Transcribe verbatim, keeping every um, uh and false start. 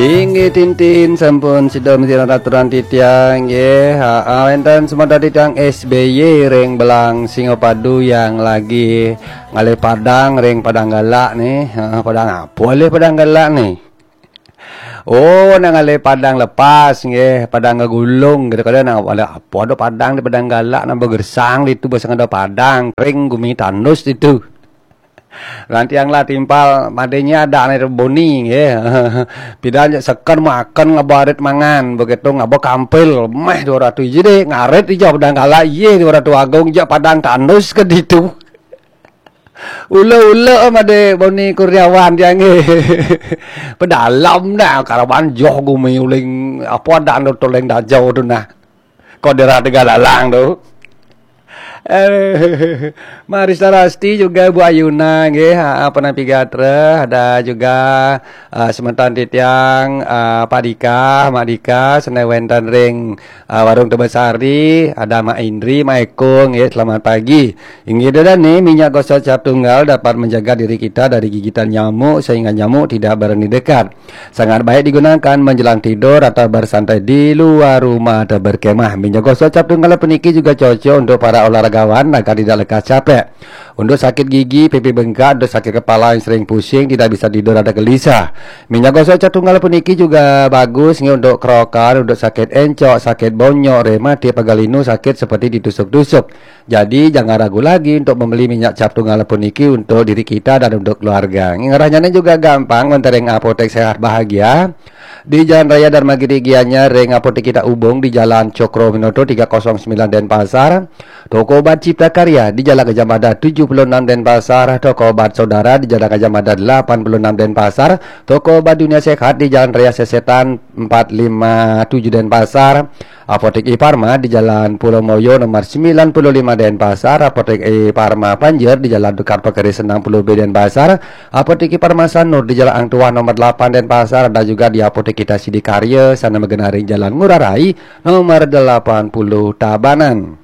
Inggih tintin, sampun sida mesti aturan titiang nggih. Ha, ha, wenten semeton titiang S B Y ring Belang Singapadu yang lagi ngalih padang ring Padang Galak nih. Ha, padang apa lih Padang Galak nih? Oh, nak ngalih padang lepas nggih, padang ngegulung gitu. Kada nak ada apa, ada padang di Padang Galak, nak begersang ditu, basang ada padang, kering gumi tandus ditu. Lantiang lah timpal, madenya ada nih boni nggih. Pidan je seken makan, ngaba arit mangan, begitu ngaba kampil, meh dua ratus jadi ngarit ija Padang Galak, iye dua ratus agung, ija padang tandus ke ditu. Ula-ula made Boni Kurniawan tiang nggih. Pedalam dah karawan joh gumi uling apa dah anu tuling dajau tu nah. Kau daerah Tegallalang tu. Eh, Marista Rasti juga Bu Ayuna nggih, ha, apa nampi gatra, ada juga uh, semeton titiang uh, Pak Dika, Mak Dika, senai wenten ring uh, Warung Tebesari, ada Mak Indri, Mak Eko nggih, selamat pagi. Inggih dane, minyak gosok cap tunggal dapat menjaga diri kita dari gigitan nyamuk sehingga nyamuk tidak berani dekat. Sangat baik digunakan menjelang tidur atau bersantai di luar rumah atau berkemah. Minyak gosok cap tunggal puniki juga cocok untuk para olahragawan agar tidak lekas capek. Untuk sakit gigi, pipi bengkak, untuk sakit kepala yang sering pusing, tidak bisa tidur atau gelisah. Minyak gosok cap tunggal puniki juga bagus nggih untuk kerokan, untuk sakit encok, sakit bonyok, rematik, pegal linu, sakit seperti ditusuk-tusuk. Jadi, jangan ragu lagi untuk membeli minyak cap tunggal puniki untuk diri kita dan untuk keluarga. Ngarahnya juga gampang, wenten ring Apotek Sehat Bahagia di Jalan Raya Dharma Giri Gianyar, ring Apotek kita Ubung di Jalan Cokroaminoto tiga kosong sembilan Denpasar, toko obat Cipta Karya di Jalan Gajah Mada tujuh puluh enam Denpasar, toko obat Saudara di Jalan Gajah Mada delapan puluh enam Denpasar, toko obat Dunia Sehat di Jalan Raya Sesetan empat lima tujuh Denpasar, Apotek Iparma di Jalan Pulau Moyo nomor sembilan puluh lima Denpasar, Apotek Iparma Panjer di Jalan Tukar Pekeri enam puluh B Denpasar, Apotek Iparma Sanur di Jalan Ang Tuah nomor delapan Denpasar, dan juga di Apotek Kita Sidikarya, sana magenah ring Jalan Ngurah Rai nomor delapan puluh Tabanan.